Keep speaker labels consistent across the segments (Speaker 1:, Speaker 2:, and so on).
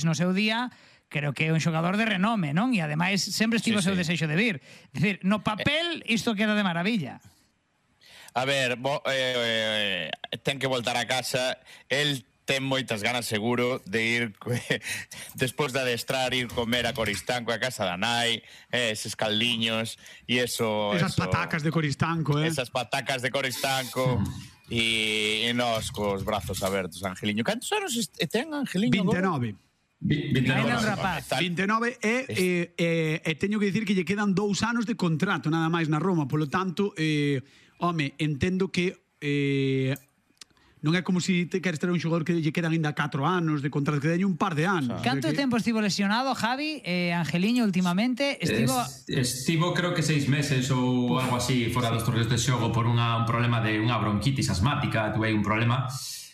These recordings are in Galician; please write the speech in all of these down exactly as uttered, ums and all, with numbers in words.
Speaker 1: no seu día, creo que é un xogador de renome, non? E ademais sempre estivo o seu desexo de vir. É dicir, no papel isto queda de maravilla.
Speaker 2: A ver, bo, eh, eh, ten que voltar a casa. El ten moitas ganas seguro de ir despois de adestrar, ir comer a Coristanco, a casa da nai, eh, eses caldiños e eso...
Speaker 3: Esas
Speaker 2: eso,
Speaker 3: patacas de Coristanco, eh?
Speaker 2: Esas patacas de Coristanco e, e nós cos brazos abertos, Angeliño. Cantos anos ten Angeliño?
Speaker 3: vinte e nove.
Speaker 1: vinte e nove.
Speaker 3: vinte e nove e, e, e, e teño que dicir que lle quedan dous anos de contrato nada máis na Roma, polo tanto, eh, home, entendo que eh, non é como se te queres ter un xogador que lle quedan ainda catro anos de contrato, que teño un par de anos.
Speaker 1: Canto
Speaker 3: que...
Speaker 1: tempo estivo lesionado, Javi? Eh, Angeliño, últimamente, estivo...
Speaker 4: Es, estivo creo que seis meses ou algo así fora dos torneos de xogo por unha, un problema de unha bronquitis asmática, tuve un problema...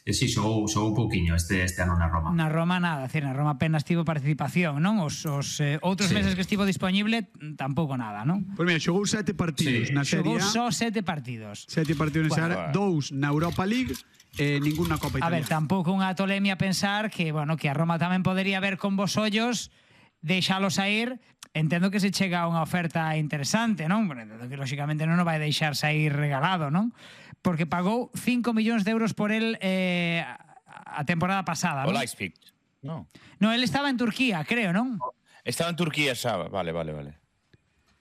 Speaker 4: E si, xogou, xogou pouquiño este, este ano na Roma.
Speaker 1: Na Roma nada, decir, na Roma apenas tivo participación, non? Os, os eh, outros sí. meses que estivo disponible, tampouco nada, non?
Speaker 3: Pois mira, xogou sete partidos
Speaker 4: sí.
Speaker 3: na Serie A.
Speaker 1: Xogou só sete partidos.
Speaker 3: Sete partidos na
Speaker 1: bueno,
Speaker 3: Serie A, dous na Europa League e eh, ningún na Copa
Speaker 1: A
Speaker 3: Italia.
Speaker 1: ver, tampouco unha tolemia pensar que, bueno, que a Roma tamén podería ver con vos ollos, deixalo sair. Entendo que se chega a unha oferta interesante, non? Bueno, entendo que lógicamente non o vai deixar sair regalado, non? Porque pagou cinco millóns de euros por el eh, a temporada pasada,
Speaker 2: ¿no? O
Speaker 1: ¿no?
Speaker 2: Leipzig. No.
Speaker 1: No, él estaba en Turquía, creo, ¿no?
Speaker 2: Estaba en Turquía, sabe. Vale, vale, vale.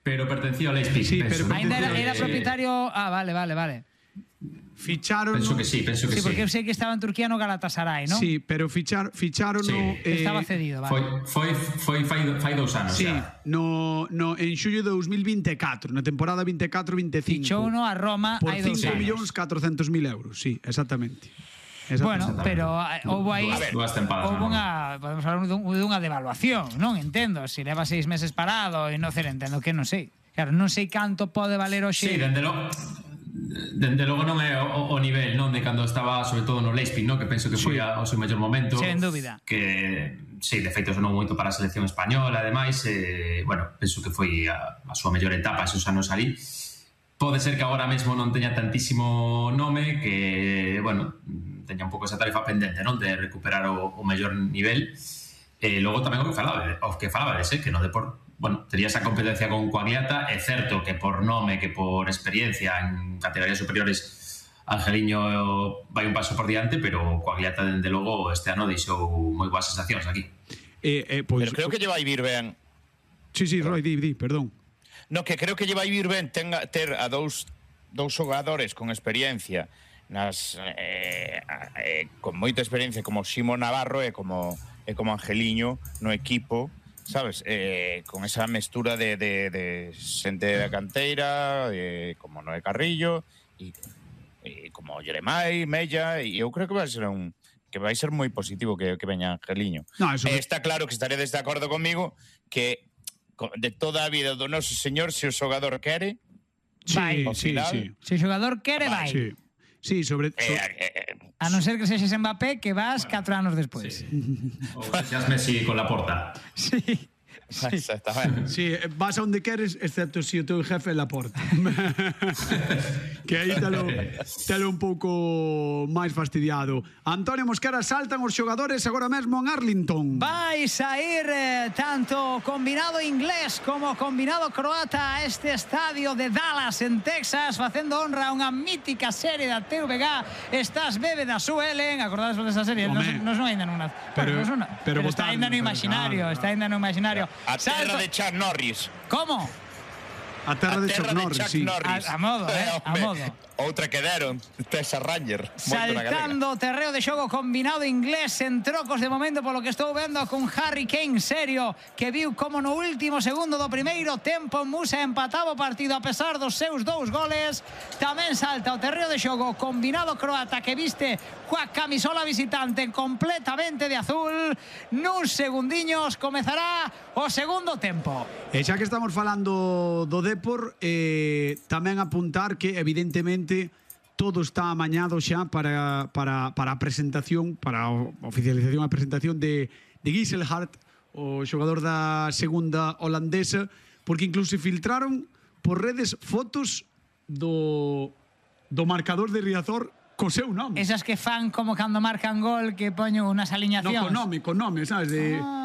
Speaker 4: Pero pertencía ao Leipzig.
Speaker 3: Sí,
Speaker 4: penso.
Speaker 3: pero
Speaker 1: Ainda era, era
Speaker 4: Eh,
Speaker 1: propietario... Ah, vale, vale, vale.
Speaker 3: Ficharon...
Speaker 4: Penso que sí, penso que
Speaker 1: Sí,
Speaker 4: sí.
Speaker 1: porque eu sei que estaba en Turquía no Galatasaray, ¿no?
Speaker 3: Sí, pero fichar, ficharon
Speaker 4: Sí.
Speaker 3: no, eh,
Speaker 1: Estaba cedido, vale.
Speaker 4: Foi, foi, foi fai, fai dous anos
Speaker 3: Sí,
Speaker 4: xa.
Speaker 3: no, no, en xullo de dos mil vinte e catro, na temporada vinte e catro vinte e cinco.
Speaker 1: Fichou uno a Roma
Speaker 3: por
Speaker 1: hai dous
Speaker 3: cinco
Speaker 1: anos.
Speaker 3: millóns catrocentos mil euros, sí, exactamente.
Speaker 1: Bueno,
Speaker 3: Exactamente.
Speaker 1: pero eh, houve aí
Speaker 4: Dúas tempadas,
Speaker 1: houve
Speaker 4: non?
Speaker 1: unha, podemos falar dun, dunha devaluación, non? Entendo, se leva seis meses parado e non sei, entendo que non sei. Claro, non sei canto pode valer hoxe.
Speaker 4: Sí, dende logo dende logo non é o, o nivel, non, de cando estaba sobre todo no Leipzig, non, que penso que foi
Speaker 3: Sí.
Speaker 4: a, o seu mellor momento.
Speaker 1: Sen dúbida.
Speaker 4: Que sí, de feito sonou moito para a selección española, ademais, eh, bueno, penso que foi a, a súa mellor etapa esos anos ali. Pode ser que agora mesmo non teña tantísimo nome, que, bueno, teña un pouco esa tarefa pendente, non, de recuperar o, o mellor nivel. E logo tamén o que falaba, o que falaba de ser que no Depor, bueno, tería esa competencia con Coagliata. É certo que por nome, que por experiencia en categorías superiores Angeliño vai un paso por diante, pero Coagliata, dende logo, este ano deixou moi boas sensacións aquí.
Speaker 3: Eh, eh, pois,
Speaker 2: Pero creo que lle vai vir ben.
Speaker 3: Sí, sí, Roy, di, di, perdón.
Speaker 2: No, que creo que lle vai vir ben tenga, ter a dous, dous xogadores con experiencia nas eh, eh, con moita experiencia como Ximo Navarro e como e como Angeliño no equipo, sabes? Eh, con esa mestura de, de, de xente da canteira, de, como Noé Carrillo e, e como Jeremai, Mella, e eu creo que vai ser un que vai ser moi positivo que, que veña Angeliño.
Speaker 3: No, eso
Speaker 2: eh,
Speaker 3: que...
Speaker 2: está claro que estaredes de acordo comigo que de toda a vida do noso señor, se o xogador quere,
Speaker 3: Sí,
Speaker 1: Vai.
Speaker 3: sí,
Speaker 2: final,
Speaker 3: sí.
Speaker 1: Se o xogador quere, vai.
Speaker 3: Sí, sí, sobre... So...
Speaker 2: eh, eh,
Speaker 1: A non ser que sexes Mbappé, que vas catro anos despois.
Speaker 4: Sí. Ou que seas Messi con la porta.
Speaker 1: Sí.
Speaker 2: sí. Exactamente.
Speaker 3: Sí, vas a onde queres, excepto se si o teu jefe é Laporta. Que aí telo, telo un pouco máis fastidiado. Antonio Mosquera, saltan os xogadores agora mesmo en Arlington.
Speaker 1: Vai sair eh, tanto combinado inglés como combinado croata a este estadio de Dallas en Texas, facendo honra a unha mítica serie da T V G. Estás bebe da Sue Ellen, acordades por esa serie?
Speaker 3: Home.
Speaker 1: Non son aínda nunha.
Speaker 3: Pero-
Speaker 1: Bueno, non son-
Speaker 3: pero
Speaker 1: pero está
Speaker 3: votaron,
Speaker 1: aínda no
Speaker 3: pero
Speaker 1: imaginario,
Speaker 3: claro,
Speaker 1: está aínda no imaginario.
Speaker 2: A terra
Speaker 1: Salto-
Speaker 2: de Chuck Norris.
Speaker 1: Como?
Speaker 3: A terra de Chuck Norris,
Speaker 2: Chuck
Speaker 3: sí.
Speaker 2: Norris.
Speaker 1: A- a modo, eh, a
Speaker 2: Home,
Speaker 1: modo.
Speaker 2: Outra que deron, Tessa Ranger. moito na galega.
Speaker 1: Saltando o terreo de xogo combinado inglés en trocos de momento, polo que estou vendo, con Harry Kane serio, que viu como no último segundo do primeiro tempo Musa empataba o partido a pesar dos seus dous goles. Tamén salta o terreo de xogo combinado croata, que viste coa camisola visitante completamente de azul. Nuns segundiños comezará o segundo tempo.
Speaker 3: E xa que estamos falando do Depor, eh, tamén apuntar que evidentemente todo está amañado xa para, para, para a presentación, para a oficialización a presentación de, de Gisselhart, o xogador da segunda holandesa, porque incluso filtraron por redes fotos do, do marcador de Riazor Co seu nome.
Speaker 1: Esas que fan como cando marcan gol, que poño unas
Speaker 3: No,
Speaker 1: aliñacións.
Speaker 3: con nome, con nome, sabes? De...
Speaker 1: Ah.